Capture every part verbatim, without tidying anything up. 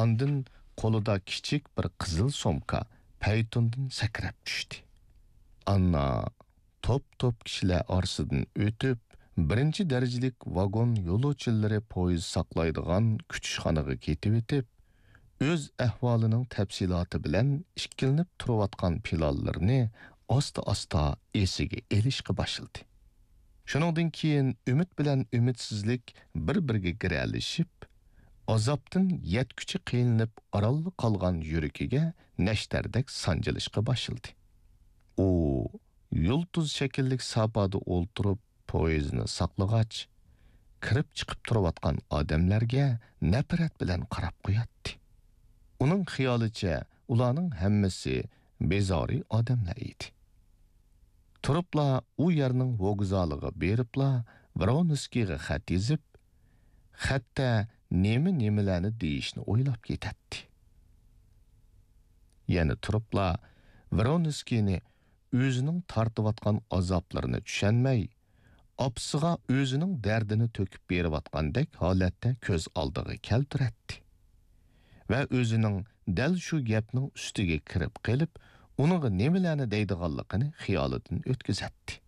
ئاندىن قولىدا كىچىك بىر قىزىل سومكا پەيتۇندىن سەكرەپ چۈشتى. ئاننا توپ-توپ كىشىلەر ئارىسىدىن ئۆتۈپ، بىرىنچى دەرىجىلىك ۋاگون يولۇچىلىرى پويىز ساقلايدىغان كۈتۈشخانىغا كېتىۋېتىپ، ئۆز ئەھۋالىنىڭ تەپسىلاتى بىلەن ئىككىلىنىپ تۇرۇۋاتقان پىلانلىرىنى ئاستا-ئاستا ئېسىگە ئېلىشقا باشلىدى. شۇنىڭدىن كېيىن ئۈمىد بىلەن ئۈمىدسىزلىك بىر-بىرىگە گىرەلىشىپ، ئازابتىن يەتكۈچە قىينىلىپ ئارانلا قالغان يۈرىكىگە نەشتەردەك سانجىلىشقا باشلىدى. ئۇ يۇلتۇز شەكىللىك ساپادا ئولتۇرۇپ پويىزنى ساقلىغاچ، كىرىپ چىقىپ تۇرۇۋاتقان ئادەملەرگە نەپرەت بىلەن قاراپ قوياتتى. ئۇنىڭ خىيالىچە ئۇلارنىڭ ھەممىسى بىزارى ئادەملەر ئىدى. تۇرۇپلا ئۇ يەرنىڭ ۋوگزالىغا بېرىپلا ۋرونسكىيغا خەت يېزىپ، خەتتە نېمە-نېمىلەرنى دېيىشنى ئويلاپ كېتەتتى. يەنە تۇرۇپلا ۋرونسكىينى ئۆزىنىڭ تارتىۋاتقان ئازابلىرىنى چۈشەنمەي، ئاپىسىغا ئۆزىنىڭ دەردىنى تۆكۈپ بېرىۋاتقاندەك ھالەتتە كۆز ئالدىغا كەلتۈرەتتى ۋە ئۆزىنىڭ دەل شۇ گەپنىڭ ئۈستىگە كىرىپ قېلىپ، ئۇنىڭغا نېمىلەرنى دەيدىغانلىقىنى خىيالىدىن ئۆتكۈزەتتى.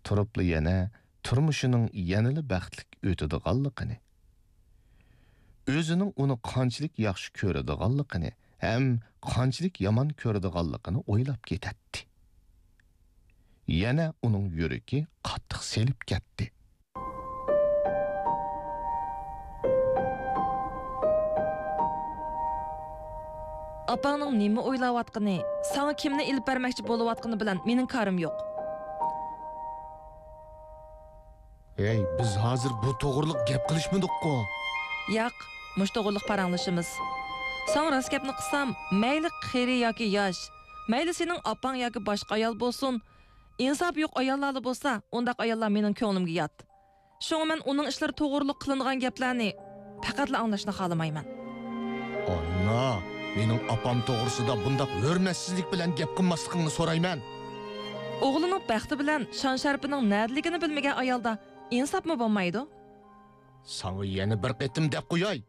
تۇرۇپلا يەنە تۇرمۇشىنىڭ يەنىلا بەختلىك ئۆتىدىغانلىقىنى، ئۆزىنىڭ ئۇنى قانچىلىك ياخشى كۆرىدىغانلىقىنى ھەم قانچىلىك يامان كۆرىدىغانلىقىنى ئويلاپ كېتەتتى. يەنە ئۇنىڭ يۈرىكى قاتتىق سېلىپ كەتتى. ئاپاڭنىڭ نېمە ئويلاۋاتقىنى، ساڭا كىمنى ئېلىپ بەرمەكچى بولۇۋاتقىنى بىلەن مېنىڭ كارىم يوق. ھەي، بىز ھازىر بۇ توغرىلىق گەپ قىلىشمىدۇققۇ؟ ياق، مۇشۇ توغرىلىق پاراڭلىشىمىز. ساڭا راست گەپنى قىلسام، مەيلى قېرى ياكى ياش، مەيلى سېنىڭ ئاپاڭ ياكى باشقا ئايال بولسۇن، ئىنساپى يوق ئاياللارلا بولسا، ئۇنداق ئاياللار مېنىڭ كۆڭلۈمگە يات. شۇڭا مەن ئۇنىڭ ئىشلىرى توغرۇلۇق قىلىنغان گەپلەرنى پەقەتلا ئاڭلاشنى خالىمايمەن. ئاننا، مېنىڭ ئاپام توغرىسىدا بۇنداق ھۆرمەتسىزلىك بىلەن گەپ قىلماسلىقىڭنى سورايمەن. ئوغلىنىڭ بەختى بىلەن شان-شەرىپىنىڭ نەدىلىكىنى بىلمىگەن ئايالدا ئىنساپمۇ بولمايدۇ. ساڭا يەنە بىر قېتىم دەپ قوياي.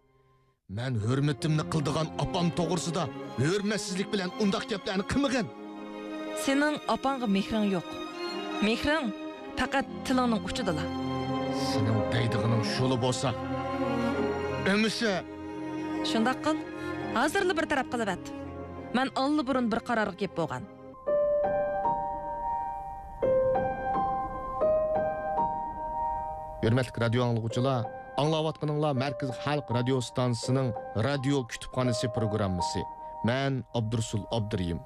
مەن ھۆرمىتىمنى قىلىدىغان ئاپام توغرىسىدا ھۆرمەتسىزلىك بىلەن ئۇنداق گەپلەرنى قىلمىغىن. سېنىڭ ئاپاڭغا مېھرىڭ يوق. مېھرىڭ پەقەت تىلىڭنىڭ ئۇچىدىلا. سېنىڭ دەيدىغىنىڭ شۇلا بولسا، ئەمىسە. شۇنداق قىل، ھازىرلا بىر تەرەپ قىلىۋەت. مەن ئاللىبۇرۇن بىر قارارغا كېلىپ بولغان. ھۆرمەتلىك رادىيو ئاڭلىغۇچىلار، ئاڭلاۋاتقىنىڭلار مەركىزىي خەلق رادىيو ئىستانسىسىنىڭ رادىيو كۇتۇپخانىسى پروگراممىسى. مەن ئابدۇرۇسۇل ئابدۇرېھىم.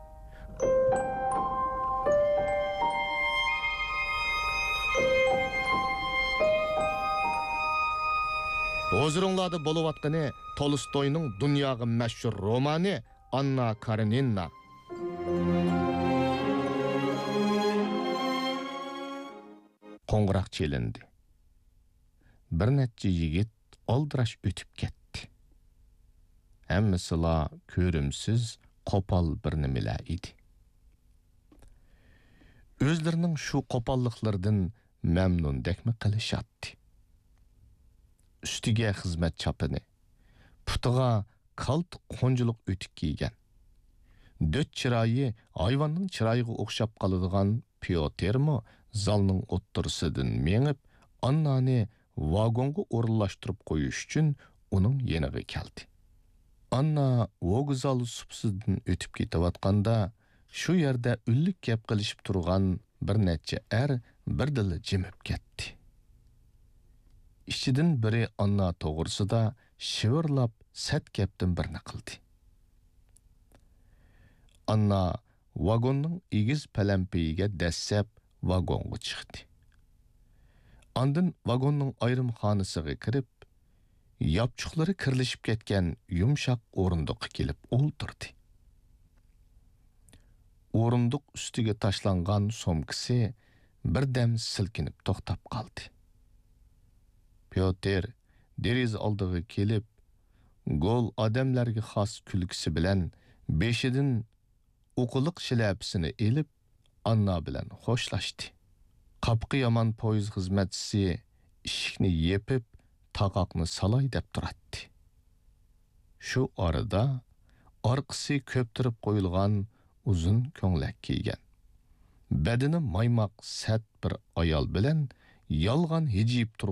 ھۇزۇرۇڭلاردا بولۇۋاتقىنى تولستوينىڭ دۇنياغا مەشھۇر رومانى ئاننا كارېنىنا. قوڭغۇراق چېلىندى. بىر نەچچە يىگىت ئالدىراش ئۆتۈپ كەتتى. ھەممىسىلا كۆرۈمسىز، قوپال بىر نېمىلەر ئىدى. ئۆزلىرىنىڭ شۇ قوپاللىقلىرىدىن مەمنۇندەكمۇ قىلىشاتتى. ئۈستىگە خىزمەت چاپىنى، پۇتىغا كالتە قونجىلىق ئۆتۈك كىيگەن، دۆت چىرايى ھايۋاننىڭ چىرايىغا ئوخشاپ قالىدىغان پيوتىرمۇ زالنىڭ ئوتتۇرىسىدىن مېڭىپ، ئاننانى ۋاگونغا ئورۇنلاشتۇرۇپ قويۇش ئۈچۈن ئۇنىڭ يېنىغا كەلدى. ئاننا ۋوگزال سۇپىسىدىن ئۆتۈپ كېتىۋاتقاندا، شۇ يەردە ئۈنلۈك گەپ قىلىشىپ تۇرغان بىر نەچچە ئەر بىردىنلا جىمىپ كەتتى. ئىچىدىن بىرى ئاننا توغرىسىدا شىۋىرلاپ سەت گەپتىن بىرنى قىلدى. ئاننا ۋاگوننىڭ ئېگىز پەلەمپىيىگە دەسسەپ ۋاگونغا چىقتى. ئاندىن ۋاگوننىڭ ئايرىم خانىسىغا كىرىپ، ياپچۇقلىرى كىرلىشىپ كەتكەن يۇمشاق ئورۇندۇققا كېلىپ ئولتۇردى. ئورۇندۇق ئۈستىگە تاشلانغان سومكىسى بىردەم سىلكىنىپ توختاپ قالدى. پيوتىر دېرىزە ئالدىغا كېلىپ، گول ئادەملەرگە خاس كۈلكىسى بىلەن بېشىدىن ئوقىلىق شىلەپىسىنى ئېلىپ، ئاننا بىلەن خوشلاشتى. قاپىقى يامان پويىز خىزمەتچىسى ئىشىكنى يېپىپ، تاقاقنى سالاي دەپ تۇراتتى. شۇ ئارىدا ئارقىسى كۆپتۈرۈپ قويۇلغان ئۇزۇن كۆڭلەك كىيگەن، بەدىنى مايماق سەت بىر ئايال بىلەن يالغان ھىجىيىپ تۇرغان